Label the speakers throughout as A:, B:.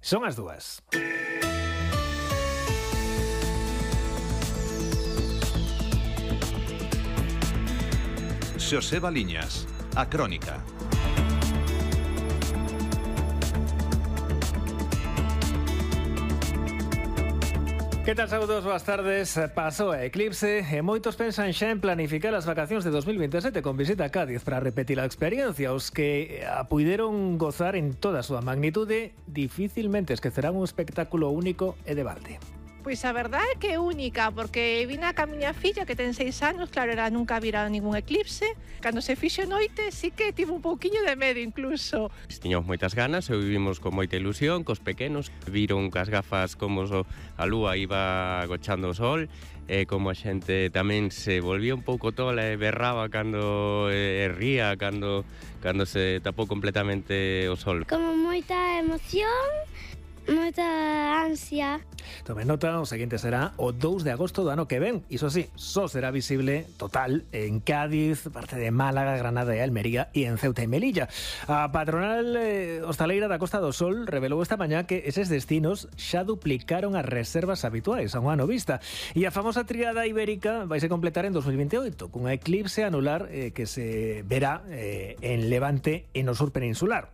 A: Son as 2.
B: Xosé Baliñas, a Crónica.
A: Que tal, saúdos, boas tardes. Pasou a eclipse e moitos pensan xa en planificar as vacacións de 2027 con visita a Cádiz para repetir a experiencia. Os que a puideron gozar en toda a súa magnitude dificilmente esquecerán un espectáculo único e de balde.
C: Pois a verdade é que é única, porque vina ca miña filla que ten 6 anos, claro, era nunca vira ningún eclipse. Cando se fixo noite, sí que tive un pouquiño de medo incluso.
D: Tiñamos moitas ganas e vivimos con moita ilusión, cos pequenos. Viron cas gafas como a lúa iba agochando o sol, e como a xente tamén se volvía un pouco tola e berraba cando ría, cando se tapou completamente o sol.
E: Como moita emoción, moita ansia.
A: Tome nota, o seguinte será o 2 de agosto do ano que ven. Iso sí, só será visible total en Cádiz, parte de Málaga, Granada e Almería e en Ceuta e Melilla. A patronal hostaleira da Costa do Sol revelou esta mañá que eses destinos xa duplicaron as reservas habituais a un ano vista. E a famosa tríada ibérica vai se completar en 2028 cunha eclipse anular que se verá en Levante e no sur peninsular.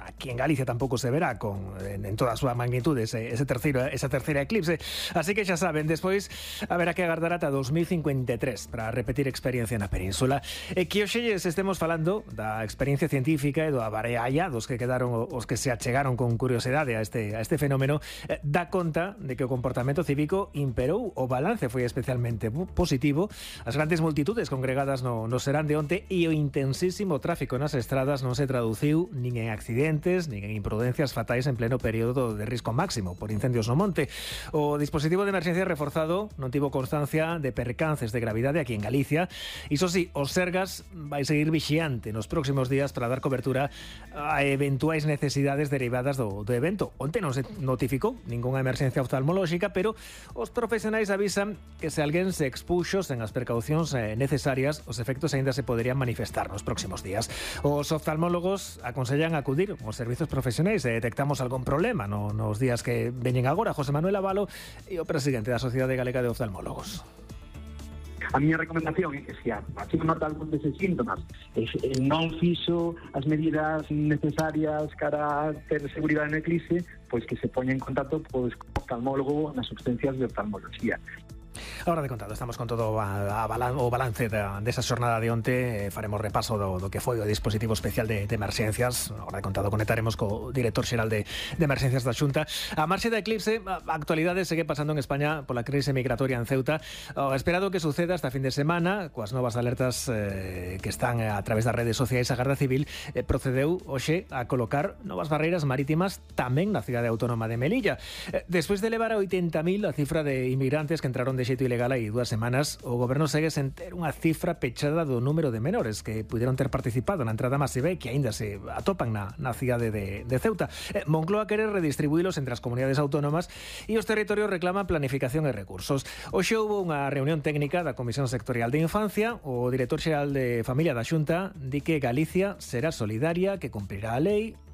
A: Aquí en Galicia tampouco se verá en toda a súa magnitude esa terceira eclipse. Así que xa saben, despois haberá que agardar ata 2053 para repetir experiencia na península. E que hoxe estemos falando da experiencia científica e do abarealla dos que quedaron, os que se achegaron con curiosidade a este fenómeno, dá conta de que o comportamento cívico imperou. O balance foi especialmente positivo. As grandes multitudes congregadas no serán de onte e o intensísimo tráfico nas estradas non se traduciu nin en accidentes nin en imprudencias fatais en pleno período de risco máximo por incendios no monte. O dispositivo de emerxencia reforzado non tivo constancia de percances de gravidade aquí en Galicia. Iso sí, os Sergas vai seguir vixiante nos próximos días para dar cobertura a eventuais necesidades derivadas do evento. Onte non se notificou ningunha emerxencia oftalmolóxica, pero os profesionais avisan que se alguén se expuxo sen as precaucións necesarias, os efectos aínda se poderían manifestar nos próximos días. Os oftalmólogos aconsellan acudir os servizos profesionais se detectamos algún problema nos días que veñen agora. José Manuel Avalo e o presidente da Sociedade Galega de Oftalmólogos.
F: A miña recomendación é que se a persona nota algún deses síntomas non fixo as medidas necesarias para ter seguridade no eclipse, pois que se poña en contacto con oftalmólogo nas substancias de oftalmología.
A: Ahora de contado, estamos con todo o balance desa xornada de onte. Faremos repaso do que foi o dispositivo especial de emerxencias. Ahora de contado conectaremos co director xeral de emerxencias da Xunta. A marxe da eclipse, a actualidade segue pasando en España pola crise migratoria en Ceuta. O esperado que suceda esta fin de semana, coas novas alertas que están a través das redes sociais, a Garda Civil procedeu hoxe a colocar novas barreiras marítimas tamén na cidade autónoma de Melilla. Despois de elevar a 80.000 a cifra de inmigrantes que entraron de xeito ilegal hai 2 semanas, o goberno segue sen ter unha cifra pechada do número de menores que puderon ter participado na entrada masiva e que aínda se atopan na cidade de Ceuta. Moncloa quere redistribuílos entre as comunidades autónomas e os territorios reclaman planificación e recursos. Hoxe houve unha reunión técnica da Comisión Sectorial de Infancia. O director xeral de Familia da Xunta di que Galicia será solidaria, que cumprirá a lei